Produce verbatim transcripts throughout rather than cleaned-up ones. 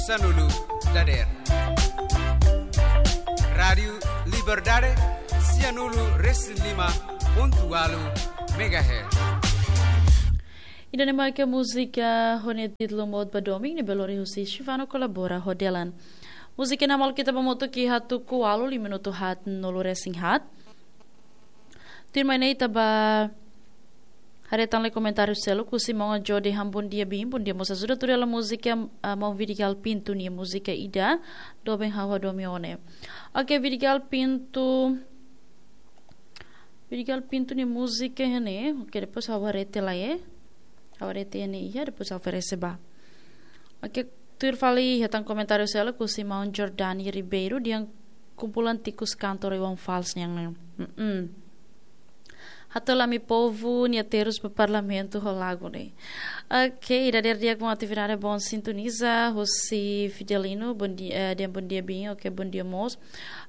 Sanulu dader. Rádiu Liberdade, sianulu resin lima pontu ualu megahertz. Ida-ne'e mak múzika ho nia títulu Mout ba Domin, ne'ebé lori husi Shivano kolabora ho Delan. Múzika ne'e maluk ita ba moto ki hatu ku alu lima minutu hat nulu resin hat. Tuirmai ne'e ita ba haree tan lai komentáriu seluk, husi maun Ajo dehan bondia biin, bondia mós ajuda tuir hela múzika, ah, maun Vidigal Pinto nia múzika ida, doben ha'u hadomi ó ne'e. Oke, Vidigal Pinto, Vidigal Pinto nia múzika iha ne'e, oke, depois ha'u haree tiha lai, eh. Ha'u haree tiha ne'e iha, depois ha'u oferese ba. Oke, tuir fali iha tan komentáriu seluk, husi maun Jordani Ribeiro, dehan kumpulan tikus kantor Iwan Fals nian ne'e. Mm-mm. Hato'o Lami Povu nia terus ba parlamentu ho lagu ne'e. Oke, ida dader di'ak, boa atividade, boa sintoniza, husi Fidelino, bondia, eh, dehan bondia biin, oke, bondia mós.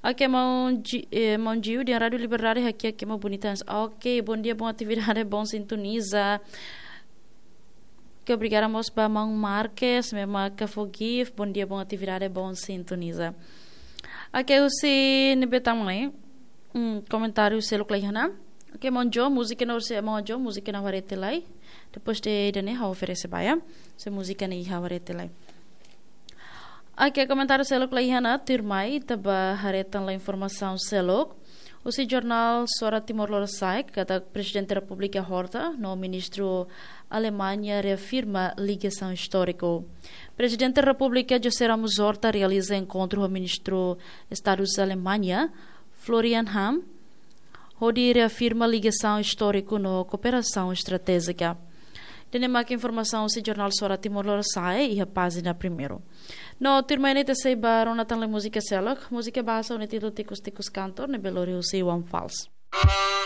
Oke, maun Ji-, eh, maun Jiu, dehan Rádiu Liberdade hakiak ema bonita. Oke, bondia, boa atividade, boa sintoniza. Oke, obrigada mós ba maun Marques, ne'ebé mak fó gift, bondia, boa atividade, boa sintoniza. Oke, husi ne'ebé tan mai, hmm, komentáriu seluk la iha ona. Oke, maun Jo, múzika ne'e, husi maun Jo, múzika ne'e ha'u haree tiha lai. Depois de ida-ne'e ha'u oferese ba, ya. Se múzika ne'e iha, ha'u haree tiha lai. Oke, komentáriu seluk la iha ona, tuirmai ita ba haree tan lai informasaun seluk. Husi jornál Suara Timor Lorosa'e, katak Prezidente Repúblika Horta no Ministru Alemaña reafirma ligasaun istóriku. Prezidente Repúblika José Ramos Horta realiza enkontru ho Ministru Estadu Alemaña, Florian Hahn, hodi reafirma ligasaun istóriku no kooperasaun estratéjika. Ida-ne'e mak informasaun husi jornál Suara Timor Lorosa'e iha pájina primeiru. No tuirmai ne'e ita sei ba rona tan lai múzika seluk, múzika bahasa ho nia títulu Tikus Tikus Kantor, ne'ebé lori husi Iwan Fals.